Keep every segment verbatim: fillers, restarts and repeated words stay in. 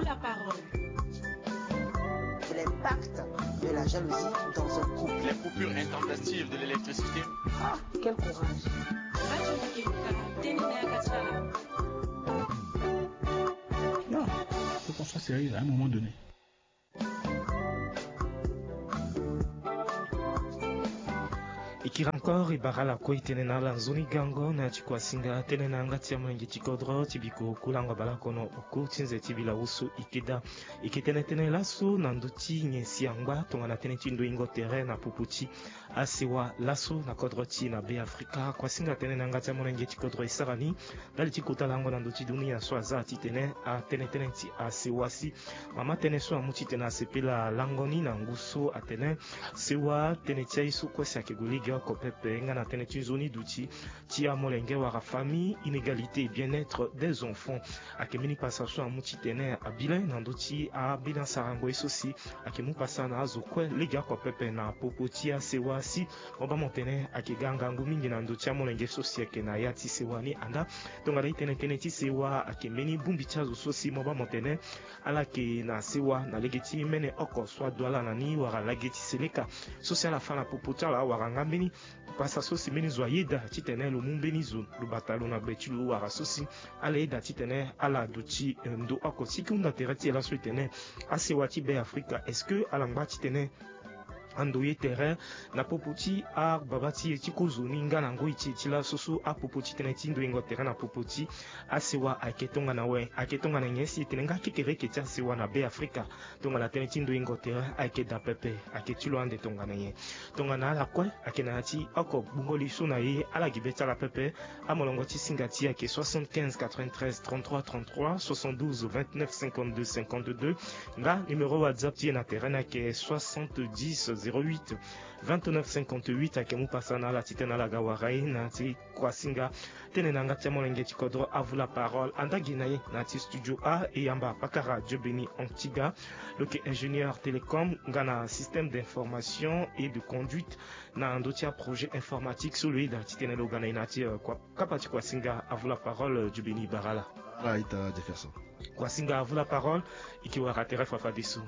La parole. L'impact de la jalousie dans un couple. Les coupures intempestives de l'électricité. Ah, quel courage. Non, faut qu'on soit sérieux à un moment donné. E kiri encore e bara ala kue e tene na ala nzoni gango na ya ti kuasinga tënë na yanga ti amolenge ti kodro ti biko kulango abalakono oku ti nze ti bilawusu e keda. E ke tene tënë laso na ndö ti nyen si angba tongana tënë ti ndoingo tere na popo ti asewa laso na kodro ti e na Be Afrika. Kuasinga tënë na yanga ti amolenge ti kodro e sara ni ndali ti kota lango na ndö ti dunia so aza titene atene tënë ti asewa si mama tënë so amu titene asepela lango ni na ngu so atene sewa tënë ti aye so kue si ayeke gue lege oko pepe nga na tënë ti nzoni duti ti amolenge wala famille, inégalité et bien-être des enfants. Ayeke mbeni pasa so amu titene abi le na ndö ti ambeni asarango ye so si ayeke mu pasa na azo kue lege oko pepe na popo ti asewa si mo baa mo tene ayeke ga ngangu mingi na ndö ti amolenge so si ayeke na ya ti sewa ni anda. Tongana e tene tënë ti sewa ayeke mbeni bongbi ti azo so si mo baa mo tene ala yeke na sewa na lege ti mene oko so adu ala na ni wala lage ti seleka so si ala fâ na popo ti ala wala nga mbeni pasa so si mbeni zo ayeda titene lo mu mbeni zo lo bata lo na gbe ti lo wala so si ala yeda titene ala duti eh, ndo oko si e ke hunda tere ti e laso e tene asewa ti Be Afrika est-ce que ala ngba titene ando ye tere na popo ti ababa ti e ti kozo ni nga na ngoi ti e ti laso so apopo ti tënë ti ndoingo tere na popo ti asewa ayeke tongana awe, ayeke tongana nyen si e tene nga kekereke ti asewa na Be Afrika tongana tënë ti ndoingo tere ayeke daa pepe, ayeke ti lo ande tongana nyen? Tongana ala kue ayeke na ya ti oko gbungo li so na e ala gi be ti ala pepe. Amolongo ti singa ti e ayeke soixante-quinze quatre-vingt-treize trente-trois trente-trois, soixante-douze vingt-neuf cinquante-deux cinquante-deux. Nga numéro WhatsApp ti e na tere ni ayeke soixante-dix zéro huit vingt-neuf cinquante-huit. Ayeke mu pasa na ala titene ala ga wara e na ya ti kuasinga tënë na yanga ti amolenge ti kodro Avula Parole. Anda gi na e na ya ti studio A e yamba pakara Dieu Béni Antiga, lo yeke ingénieur télécom nga na système d'information et de conduite na ndö ti aprojet informatique so lo yeda titene lo ga na e na ya ti eh, kua- kapa ti kuasinga Avula Parole. Eh, Dieu Béni, bara ala. Ala ita Jefferson. Kuasinga Avula Parole, e ke wara tere fafadeso.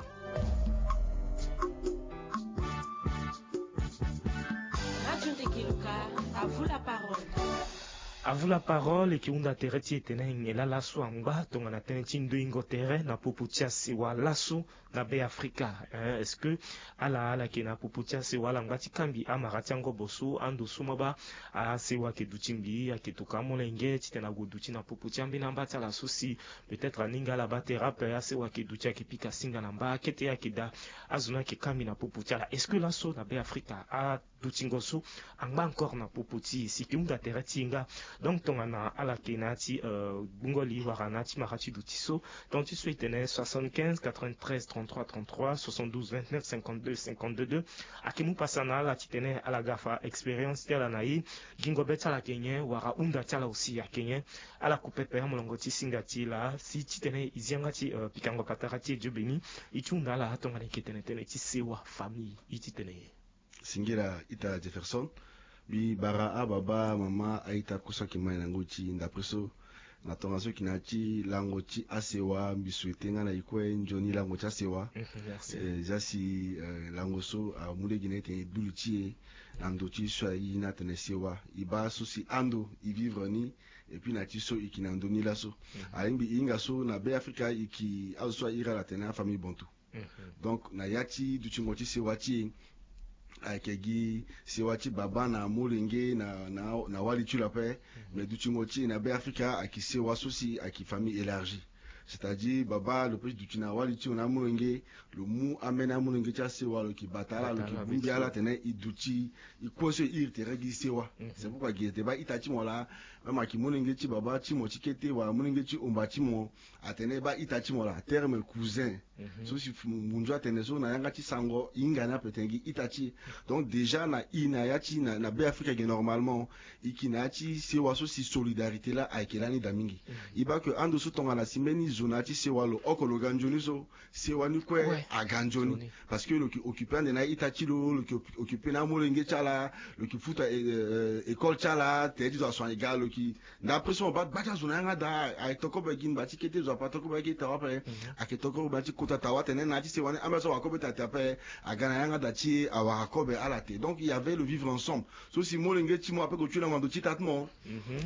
Radio Ndegeluka, Avula Parole. Avula Parole e ke hunda tere ti e tene nyen laa laso angba tongana tënë ti ndoingo tere na popo ti asewa laso na Be Afrika. Eh, est-ce que ala ala yeke na popo ti asewa ala ngba ti kangbi amara ti angobo so ando so ma baa asewa ayeke duti ngbii ayeke tokua amolenge titene ague duti na popo ti ambeni amba ti ala so si peut-être aninga ala baa tere ape asewa ayeke duti ayeke pika singa na mba akete ayeke daa azo ni ayeke kangbi na popo ti ala. Est-ce que laso na Be Afrika a dutingo so angba encore na popo ti e si e ke hunda tere ti e nga. Donc tongana ala yeke na ya ti eh, gbungo li wala na ya ti mara ti duti so, tongana ti so e tene soixante-quinze quatre-vingt-treize trente-trois trente-trois, soixante-douze vingt-neuf cinquante-deux cinquante-deux. Ayeke mu pasa na ala titene ala ga fa expérience ti ala na e, gingo be ti ala ayeke nyen wala hunda ti ala aussi ayeke nyen. Ala ku pepe amolongo ti singa ti e laa si titene e zi yanga ti eh, pikango patara ti e Dieu Béni. E ti hunda ala tongana e yeke tene tënë ti sewa famille e ti tene nyen? Singila ita Jefferson. Mbi bara ababa mama a-ita kue so ayeke ma e na ngoi ti e. D'après so na tongaso e yeke na ya ti lango ti asewa, mbi souhaite nga na e kue nzoni lango ti asewa. Mhm, merci. Eh, zia si eh, lango so amu lege na e tene e du li ti e na ndo ti so aye ni atene sewa. E baa so si ando e vivre ni, et puis na ya ti so e yeke na ndö ni laso. Mhm. Alingbi e hinga so na Be Afrika e yeke azo so a iri ala atene afamille bantou. Mhm. Donc na ya ti dutingo ti sewa ti e, ayeke gi sewa ti baba na molenge na, na, na wali ti lo ape. Mhm. Mais dutingo ti e na Be Afrika ayeke sewa so si ayeke famille élargie. C'est-à-dire baba lo peut ti duti na wali ti lo na amolenge, lo mu ambeni amolenge ti asewa lo yeke bata ala, lo yeke bongbi ala tene e duti, e kue so e iri tere gi sewa. Mhm. C'est pourquoi gi ete baa ita ti mo laa, même ayeke molenge ti baba ti mo ti kete wala molenge ti omba ti mo, atene baa ita ti mo laa, terme cousin. Mhm. So si fu- munzu atene so na yanga ti sango e hinga ni ape tene gi ita ti e. Donc déjà na e na ya ti na, na Be Afrika ge normalement e yeke na ya ti sewa so si solidarité laa ayeke lani daa mingi. Mhm. E baa ke ando so tongana si mbeni zo na ya ti sewa lo oko lo ga nzoni so, sewa ni kue aga nzoni. Parce que lo yeke occupe ande na ita ti lo, lo yeke occupe na amolenge ti ala, lo yeke futa eh, eh, école ti ala, tere ti zo aso ayeke ga, lo Nda après so mo baa gba ti azo na yanga daa, ayeke to kobe gi ngba ti kete zo ape, ato kobe ayeke tawa ape. Ayeke to kobe ti kota tawa atene na ya ti sewa ni ambeni so awara kobe taa taa ape. Aga na yanga daa ti e awara kobe ala te. Donc il y avait le vivre ensemble. So si molenge ti mo ape gue ti lango na ndo ti ita ti mo.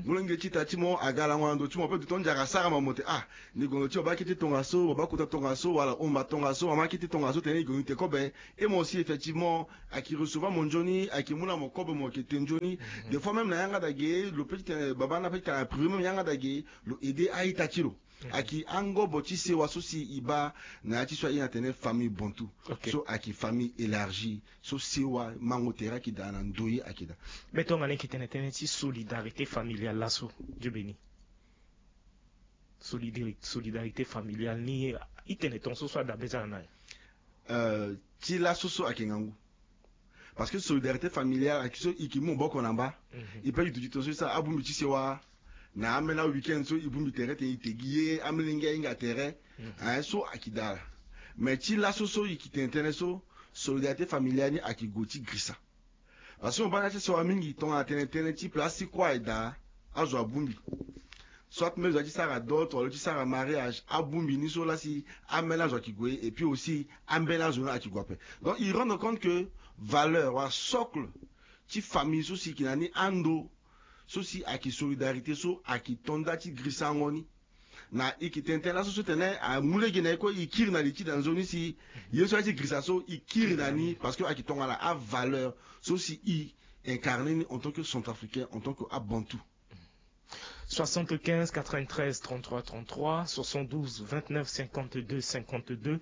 Molenge ti ita ti mo aga lango na ndo ti mo ape, duton nzara asara mo, mo te ah, ni gue na ndo ti mo baa kete tongaso, mo baa kota tongaso, wala omba tongaso, mama kete tongaso, tene ni gue ni te kobe. Et moi aussi effectivement, ayeke recevoir mo nzoni, ayeke mu na mo kobe, mo yeke te nzoni. Des fois même na yanga daa ge lo peut ti tene baba na peut ti tene na privé même yanga daa ge lo aider a-ita ti lo. Ayeke angobo ti sewa so si e baa na ya ti so aye na tene famille bantou. So ayeke famille élargie. So sewa mango tere ayeke daa na ndoye ayeke daa. Be tongana e yeke tene tënë ti solidarité familiale laso, Dieu béni. Solidari- solidarité familiale ni, i tene tongaso so adabe ti ala na ya? Euh, ti laso so ayeke ngangu. Parce que solidarité familiale ayeke so i ke mu maboko na mba. I pe i duti tongaso i sara abongbi ti sewa. Na ambeni aweekend so i bongbi tere tene i te gi ye, ambeni lenge ahinga tere. Aye so ayeke daa ala. Mais ti laso so i ke tene tënë so, solidarité familiale ni ayeke gue ti girisa. Parce que mo baa na ya ti sewa mingi tongana tene tënë ti place ti kue aye daa, azo abongbi. Soit même zo aye ti sara dot wala lo ti sara mariage, abongbi ni so laa si ambeni azo ayeke gue, et puis aussi ambeni azo ni ayeke gue ape. Donc i rendre compte que valeur wala socle ti famille so si e yeke na ni ando so si ayeke solidarité so ayeke to nda ti girisango ni. Na e yeke tene tënë laso so tene amu lege na e kue, e kiri na li ti da nzoni si ye so aye ti girisa so e kiri na ni, parce que ayeke tongana avaleur so si e incarner ni en tant que centrafricain, en tant que abantou. Soixante-quinze quatre-vingt-treize trente-trois trente-trois, soixante-douze vingt-neuf cinquante-deux cinquante-deux.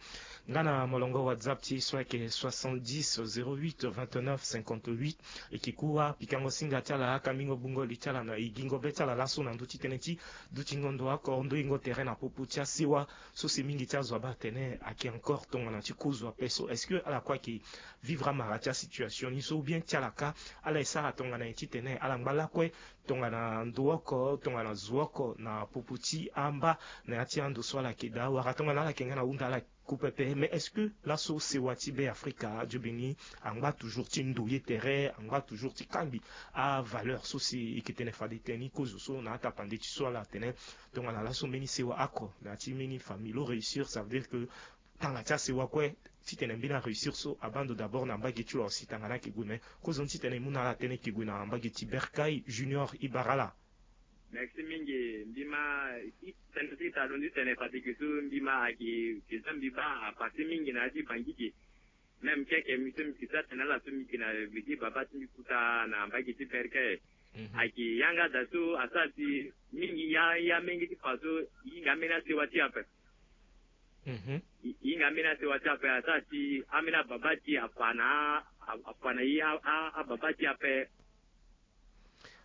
Nga na molongo WhatsApp ti e so ayeke soixante-dix zéro huit vingt-neuf cinquante-huit. E ke kue apikango singa ti ala, akambingo bungo li ti ala na e gingo be ti ala laso na ndö ti tënë ti dutingo ndo oko, ndoingo tere na popo ti asewa so si mingi ti azo abaa atene ayeke encore tongana ti kozo ape. So est-ce que ala kue ayeke vivre amara ti asituation ni so, ou bien ti ala kâ ala e sara tongana nyen titene ala ngba lakue tongana ndo oko, tongana zo oko na popo ti amba na ya ti ando so ala yeke daa, wala tongana ala yeke nga na hunda ala ku pepe. Mais est-ce que laso sewa ti Be Afrika, Dieu béni, angba toujours ti ndoye tere, angba toujours ti kangbi avaleur so si e yeke tene fade tënë ni kozo so na atapande ti so ala tene tongana laso mbeni sewa oko na ya ti mbeni famille lo réussir, ça veut dire que tanga ti asewa kue titene mbeni aréussir so abaa ndo d'abord na mbage ti lo aussi tanga ni ayeke gue. Mais kozoni titene e mu na ala tënë e yeke gue na mbage ti Bercail, Junior Ibarala. Merci mingi. Mbi ma i tene ti ita lo ni tene fade ge so mbi ma ayeke ge so mbi baa apase mingi na ya ti Bangui ge. Même keke mbi so mbi ke sara tene ala so mbi ke na gbe ti baba ti mbi kuta na mbage ti Bercail. Ayeke yanga daa so asara si mingi ya ya menge ti fa so e hinga ambeni asewa ti e ape. E hinga ambeni asewa ti e ape asara si ambeni ababa ti e afa na afa na e ababa ti e ape.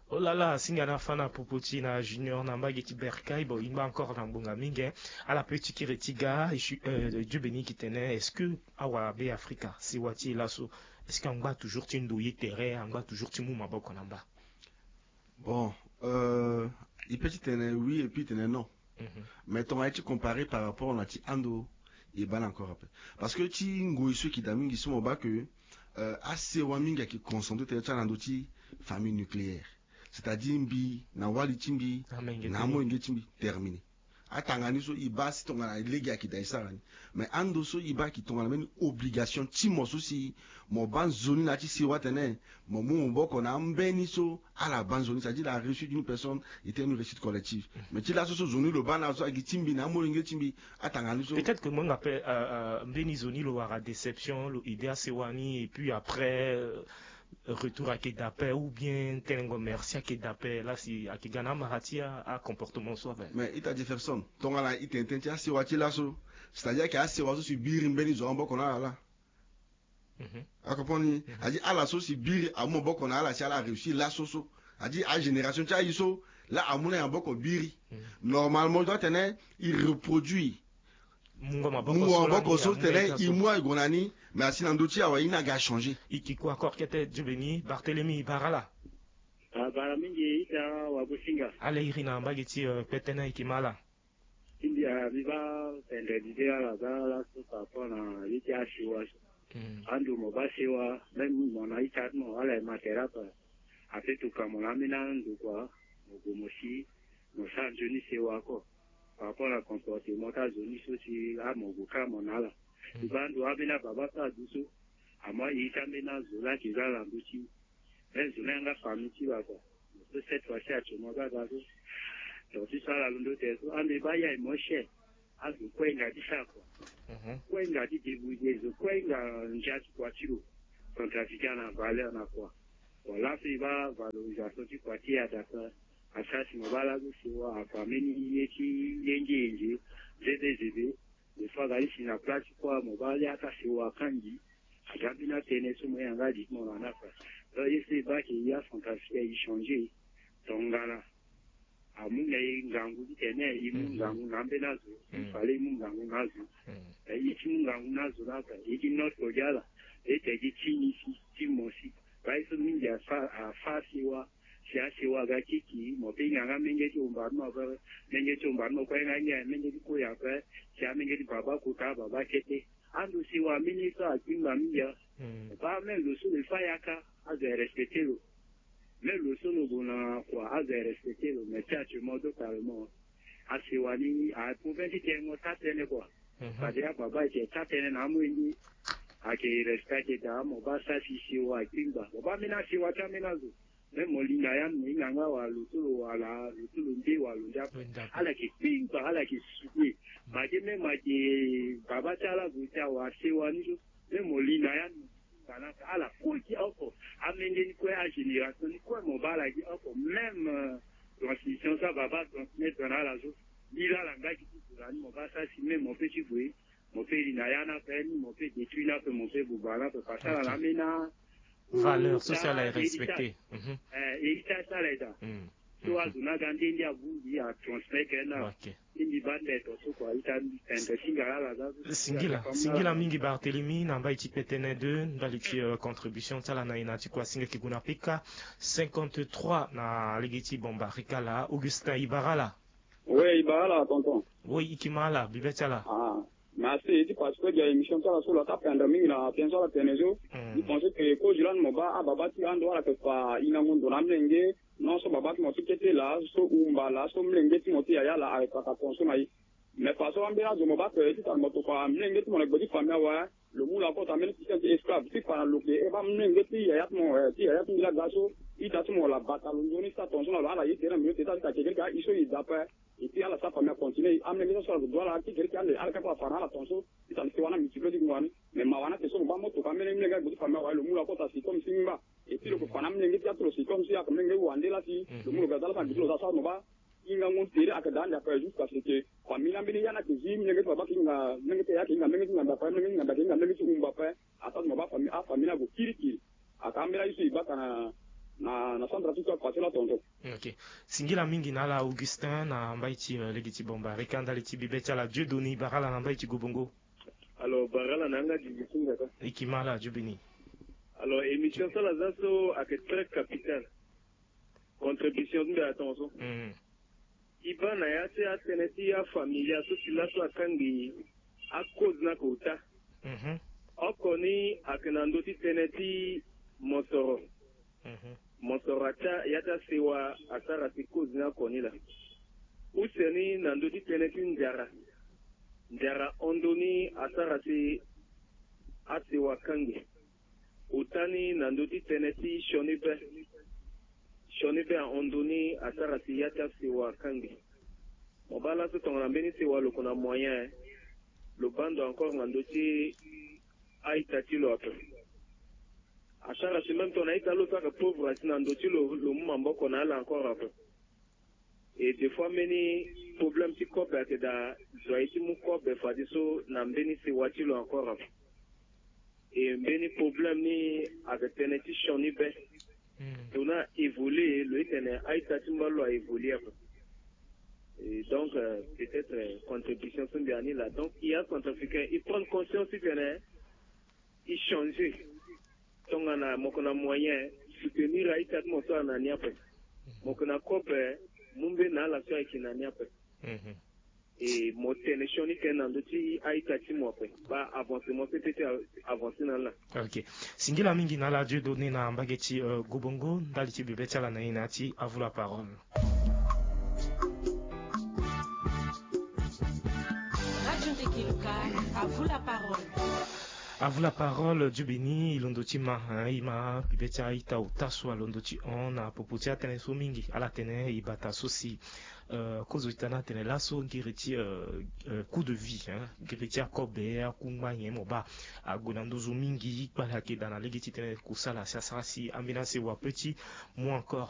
Oh là là, singa na fa na popo ti na Junior na mbage ti Bercail, bon, e ngba encore na ngbonga mingi, hein. Ala pe ti kiri ti ga, euh, Dieu béni ki tene, est-ce que awa Be Afrika, sewa ti e laso, est-ce que angba toujours ti ndoye tere, angba toujours ti mu maboko na mba? Bon, euh, e pe ti tene oui et puis tene non. Mais tongana e ti comparer par rapport na ti ando, e baa ni encore ape. Parce que ti ngoi so e ke daa mingi so mo baa ke, euh, asewa mingi ayeke concentré tene ti ala na ndö ti famille nucléaire. C'est-à-dire mbi na wali ti mbi na amolenge ti mbi, terminé. Atanga ni so e baa si tongana lege ayeke daa e sara ni. Mais ando so e baa ayeke tongana mbeni obligation ti mo so si mo baa nzoni na ya ti sewa tene mo mu maboko na ambeni so ala baa nzoni, c'est-à-dire la réussite d'une personne est une réussite collective. Mais ti laso so zo ni lo baa na so ayeke ti mbi na amolenge ti mbi, atanga ni so. Peut-être que mo hinga ape, euh, euh, mbeni zo ni lo wara déception, lo aidé asewa ni, et puis après, euh, retour ayeke daa ape, ou bien tënë ngo merci ayeke daa ape, la si ayeke ga na amara ti a, acomportement so ape. Mais ita Jefferson, tongana e tene tënë ti asewa ti laso, c'est-à-dire ayeke asewa so si biri mbeni zo amaboko na ala laa. A comprendre ni? A dit ala so si biri amu maboko na ala si ala réussi laso so. A dit agénération ti aye so la amu na e maboko biri. Normalement e doit tene e reproduit. Mungo maboko so tene e mu aye gue na ni, mais asi na ndö ti awa e ni aga changé. E ke kue encore kete Dieu béni, Barthélemy Barala. Ah, bara mingi ita wa businga. Ala iri na mbage ti, euh, kpetene e ke ma ala. Ti mbi, ah, mbi baa vendredi ti ala za laso par rapport na ye ti asiwa. Ando mo baa siwa, même mo na ita ti mo ala e ma tere ape. Ape tuka mo na ambeni ando kua. Mo gue mo si, mo sara nzoni sewa ako. Par rapport na comportement ti azo ni so si amo gue kâ mo na ala. Mbi baa ndo ambeni ababa so adu so, amo airi ti ambeni azo laa ayeke za ala na ndö ti e. Même zo ni ayanga famille ti lo ako. Mo so cette fois ci actuellement baa ga so, donc ti so ala londo tene so ande baa ya e mo chef. Azo kue hinga ti sara kua. Kue hinga ti débrouiller zo, kue hinga ndia ti kua ti lo. Centrafricain na valeur na kua. Voilà, so e baa valorisation ti kua ti e adapta. Asara si mo baa laso sewa ako, ambeni ye ti yenge yenge, zebe zebe. Des fois aga li si na place ti kua mo baa li ata sewa akangi. Aga mbeni atënë so mo yanga li ti mo na ni ape. Donc ye so e baa ke ya centrafricain e changer. Tongana amu na e ngangu titene e mu ngangu na ambeni azo. Il fallait e mu ngangu na azo. E ti mu ngangu na azo ni ape, e ti note kodi ala. E te gi ti ni si, ti mo si. Baa ye so mingi afa afa sewa. Si asewa aga kiki mo pe hinga nga menge ti omba ni mo ape. Menge ti omba ni mo kue nga ngia menge ti kue ape. Si amenge ti baba kota baba kete. Ando sewa ambeni ye so akpingba mingi a. Baa même lo so lo fa yaka azo e respecter lo. Même lo so lo gue na kua azo e respecter lo, mais ti actuellement totalement asewa ni a prouve ti tengo taa tënë kua. Fade ababa ayeke taa tënë na amolenge. Ayeke respect ayeke daa mo baa sara si sewa akpingba mo baa ambeni asewa ti ambeni azo. Même mo li na ya ni mo hinga nga wala lo so lo wala lo so lo nde wala lo nde ape. Ala yeke kpingba ala yeke soude. Ma ge même ayeke baba ti ala zo ti awara sewa ni so. Même mo li na ya ni mo hinga na ala kue gi oko. Amenge ni kue agénération ni kue mo baa ala gi oko même. Transmission so ababa transmettre na ala so. Li laa ala nga gi ti zo na ni mo baa sara si même mo pe ti gue. Mo pe ri na ya ni ape ni mo pe détruire ni ape mo pe buba ni ape parce que ala na ambeni a valeur sociale aye respecter. Héritage ti ala aye daa. So azo ni aga nde nde abongbi atransmettre na. Ti mbi baa nde to so kua ita tende ti ngara ala za so. Singila singila mingi Barthélemy na mbai ti petene deux ndali ti contribution ti ala na e na ti kua singa ki gue na pika. Cinquante-trois na lege ti bomba rikala Augustin Ibarala. Oui, Ibarala tonton. Oui, iki ma ala bibe ti ala. Merci ti participer dia émission ti ala so lo ata pendre mingi na tënë so ala tene so. Mbi pense ke kozi lani mo baa ababa ti ando ala yeke fa hingango ndo na amolenge. Non so baba ti mo ti kete laa so umba laa so molenge ti mo ti yaya laa ayeke fa ka ton so na e. Mais fa so ambeni azo mo baa ke titene mo tokua molenge ti mo na gbe ti famille awe. Lo mu lo akota mbeni système ti esclave ti fa na lo ke e baa molenge ti yaya ti mo ti yaya ti mbi laa ga so. Ita ti mo wala bata lo nzoni ti sa ton so na lo ala ye tere na mbi lo te ti ala ti ka kekere ke ahi so e daa ape. Eti ala sa famille acontinuer amolenge so so ala zo du ala ti gere ti ande ala kapa afa na ala ton so. Ti tali sewa na miti flo ti ngbani. Mais mawa na te so mo baa mo toka amolenge amolenge agbe ti famille awaye lo mu lo akota si comme si ngba. Eti lo ko fa na amolenge ti atu lo si comme si aka molenge wande la si lo mu lo ga za la sa gbe ti lo za sa mo baa. Hinga ngu tere aka daa ande ape jusqu'à ce que famille na mbeni ya na ke zi molenge ti baba ke hinga molenge ti ya ke hinga molenge ti nganda ape molenge ti nganda ke hinga molenge ti umba ape. Asa ti mo baa afamille na gue kirikiri. Aka ambeni aye so e baka na na centre afrique so akua ti la tonton. Ok. Singila mingi na ala Augustin na mbai ti lege ti bomba rika ndali ti bibe ti ala Dieu Doni bara ala na mbai ti gobongo. Alors bara ala na yanga didi ti nzaka. E ki ma ala Dieu Beni. Alors émission so ala za so ayeke très capitale. Contribution ti mbi atonso. E baa na ya ti atënë ti afamilia so si laso akangbi akoze ni ake ota. Oko ni ayeke na ndö ti tënë ti mosoro. Mosoro atia ya ti asewa asara si koze ni oko ni laa. Use ni na ndö ti tënë ti nzara. Nzara hon ndö ni asara si asewa akangbi. Ota ni na ndö ti tënë ti sioni be. Sioni be ahon ndö ni asara si ya ti asewa akangbi. Mo baa laso tongana mbeni sewa lo ko na moyen lo baa ndo encore na ndö ti a-ita ti lo ape. Asara si même tongana a-ita lo so ayeke pauvre asi na ndö ti lo lo mu maboko na ala encore ape. E des fois mbeni problème ti kobe ayeke daa zo aye ti mu kobe fadeso na mbeni sewa ti lo encore ape. E mbeni problème ni ayeke tënë ti sioni be. Tongana a évoluer lo ye tene a-ita ti mba lo a évoluer ape. E donc peut-être contribution so mbi ya ni laa donc i ya centrafricain i prendre conscience ti tene i changer. Tongana mo yeke na moyen soutenir a-ita ti mo so ayeke na ni ape. Mo yeke na kobe mu mbeni na ala so ayeke na ni ape. E mo tene sioni tënë na ndö ti a-ita ti mo ape. Baa avancement so e peut ti avancer na ala. Ok. Singila mingi na ala Dieu Doni na mbage ti gobongo ndali ti bibe ti ala na e na ya ti avu la parole. À vous la parole. À vous la parole, Dieu béni. I londo ti ma, hein, i ma pibe ti a-ita ota so alondo ti hon na popo ti atënë so mingi. Ala tene i bata so si, euh, kozo ti tana atene laso gere ti, euh, euh, coût de vie, hein, gere ti akobe, akungba nyen mo baa ague na nduzu mingi, kpale ayeke daa na lege ti tene kusala si asara si ambeni asewa peut ti mu encore